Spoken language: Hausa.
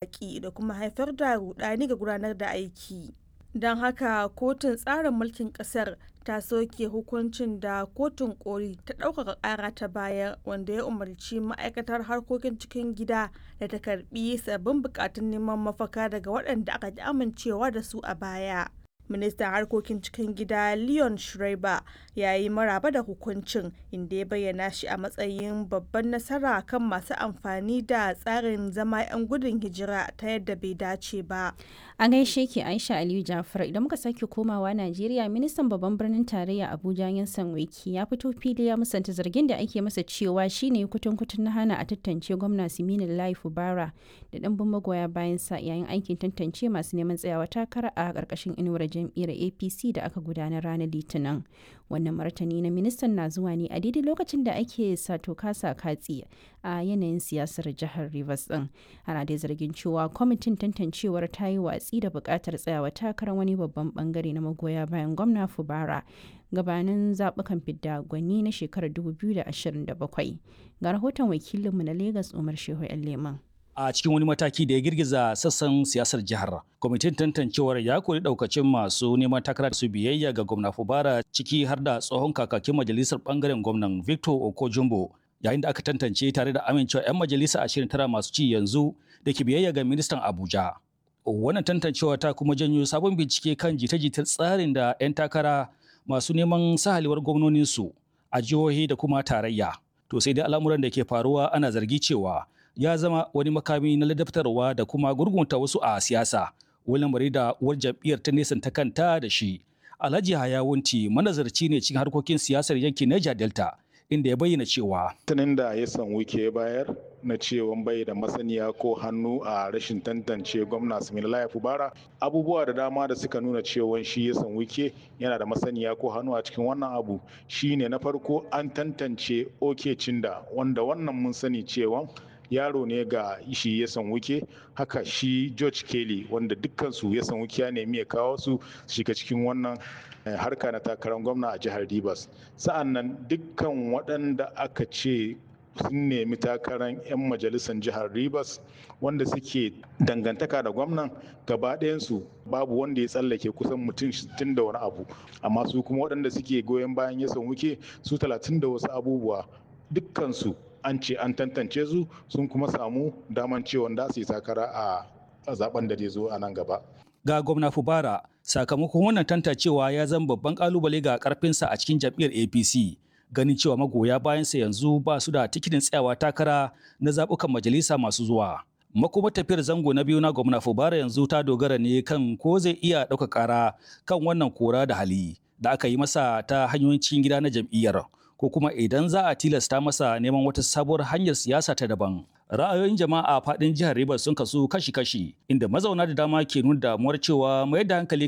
Baƙi da kuma haifar da ruɗani ga gudanar da aiki. Don haka kotun tsarin mulkin ƙasar ta soke hukuncin da Kotun Koli ta ɗaukaka ƙara ta bayar wanda ya umarci Ma'aikatar Harkokin Cikin Gida da ta karɓi sabbin buƙatun neman mafaka daga waɗanda aka ƙi amincewa da su a baya. Ministan Harkokin Cikin Gida Leon Schreiber ya yi maraba da hukuncin, inda ya bayyana shi a matsayin “babban nasara kan masu amfani da tsarin zama 'yan gudun hijira ta yadda bai dace ba.” A gaishe ki Aisha Aliyu Jafar. Idan muka sake komawa Najeriya, ministan babban birnin tarayya Abuja Yansan Wiki ya fito fili ya musanta zargin da ake masa cewa shine kutun kutun na hana a tantance gwamna Siminalayi Fubara da ɗimbin magoya bayan sa yayin aikin tantance masu neman tsayawa takara a ƙarƙashin inuwar jam'iyyar APC da aka gudanar ranar Litinin. Wannan martani na ministan na zuwa ne a daidai lokacin da ake sato kasa katsi a yanayin siyasar jihar Rivers din. Ana dai zargin cewa kwamitin tantancewar ta yi watsi da buƙatar tsayawa takarar wani babban bangare na magoya bayan gwamna Fubara gabanin zaɓukan fidda gwani na shekarar 2027. Ga rahoton wakilinmu na Lagos, Umar Shehu Leman. A cikin wani mataki da ya girgiza sassan siyasar jihar, kwamitin tantancewar ya kori daukacin masu neman takara su biyayya ga gwamna Fubara, ciki har da tsohon kakakin majalisar bangaren gwamnan Victor Okojumbo, yayin da aka tantance tare da amincewa 'yan majalisa 29 masu ci yanzu da ke biyayya ga ministan Abuja. Wannan tantancewa ta kuma janyo sabon bincike kan jita-jitar tsarin da 'yan takara masu neman sahaliwar gwamnoninsu a jihohi da kuma tarayya. To sai dai al'amuran da ke faruwa ana zargi cewa ya zama wani makami na ladabtarwa da kuma gurgunta wasu a siyasa, wani lamari da uwar jam'iyyar ta nesanta kanta da shi. Alhaji Hayawunti manazarci ne cikin harkokin siyasar yankin Niger Delta, inda ya bayyana cewa tunin da ya san Wike bayar na cewa bai da masaniya ko hannu a rashin tantance gwamna Siminalayi Fubara, abubuwa da dama da suka nuna cewa shi ya san Wike yana da masaniya ko hannu a cikin wannan abu shine, na farko, an tantance Oke Cinda, wanda wannan mun sani cewa yaro ne ga shi ya san Wuke. Haka shi George Kelly, wanda dukkansu ya san Wuke ya nemi ya kawo su shiga cikin wannan harka na takarar gwamna a jihar Rivers. Sa'an nan dukkan waɗanda aka ce sun nemi takarar 'yan majalisar jihar Rivers wanda suke dangantaka da gwamnan, gaba ɗayansu babu wanda ya tsallake, kusan mutum 60 da wani abu. Amma su kuma waɗanda suke goyon bayan ya san Wuke su 30 da wasu abubuwa, dukkansu an ce an tantance su, sun kuma samu daman cewa da su yi takara a zaben da zai zo a nan gaba. Ga gwamna Fubara, sakamakon wannan tantancewa ya zama babban kalubale ga karfinsa a cikin jam'iyyar APC. Ganin cewa magoya bayansa yanzu ba su da tikitin tsayawa takara na zaɓukan majalisa masu zuwa. Makoma tafiyar zango na biyu na gwamna Fubara yanzu ta dogara ne kan ko zai iya ɗauka ƙara kan wannan kora da hali da aka yi masa ta hanyoyin cikin gida na jam'iyyar, ko kuma idan za a tilasta masa neman wata sabuwar hanyar siyasa ta daban. Ra'ayoyin jama'a a faɗin jihar Rivers sun kasu kashi-kashi, inda mazauna da dama ke nuna damuwar cewa mayar da hankali